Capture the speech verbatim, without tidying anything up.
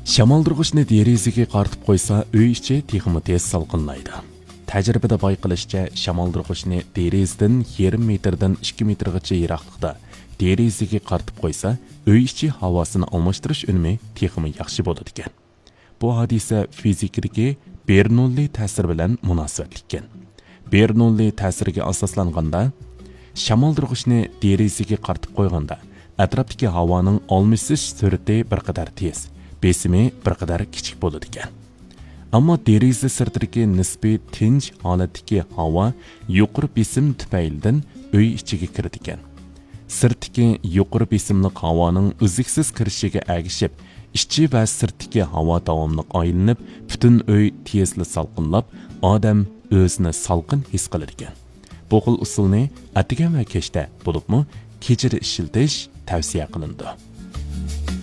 شامالدۇرغۇچنى دېرىزىگە قارىتىپ قويسا، ئۆي ئىچى تېخىمۇ تېز سالقىنلايدۇ. تەجرىبىدە بايقىلىشىچە، شامالدۇرغۇچنى دېرىزىدىن يېرىم مېتىردىن ئىككى مېتىرغىچە يىراقلىقتا دېرىزىگە قارىتىپ قويسا، ئۆي ئىچى ھاۋاسىنى ئالماشتۇرۇش ئۈنۈمى تېخىمۇ ياخشى بولىدىكەن. بۇ ھادىسە فىزىكىدىكى بېرنوللى تەسىرى بىلەن مۇناسىۋەتلىككەن. بېرنوللى تەسىرىگە ئاساسلانغاندا، شامالدۇرغۇچنى دېرىزىگە قارىتىپ قويغاندا، ئەتراپتىكى ھاۋانىڭ ئالمىشىش سۈرئىتى بىر قەدەر تېز، بېسىمى بىر قەدەر كىچىك بولىدىكەن. ئەمما دېرىزە سىرتىدىكى نىسپىي تىنچ ھالەتتىكى ھاۋا يۇقىرى بېسىم تۈپەيلىدىن ئۆي ئىچىگە كىرىدىكەن. سىرتتىكى يۇقىرى بېسىملىق ھاۋانىڭ ئۈزلۈكسىز كىرىشىگە ئەگىشىپ، ئىچى ۋە سىرتتىكى ھاۋا داۋاملىق ئايلىنىپ، پۈتۈن ئۆي تېزلا سالقىنلاپ، ئادەم ئۆزىنى سالقىن ھېس قىلىدىكەن. بۇ خىل ئۇسۇلنى ئەتىگەن ۋە كەچتە، بولۇپمۇ كېچىدە ئىشلىتىش تەۋسىيە قىلىنىدۇ.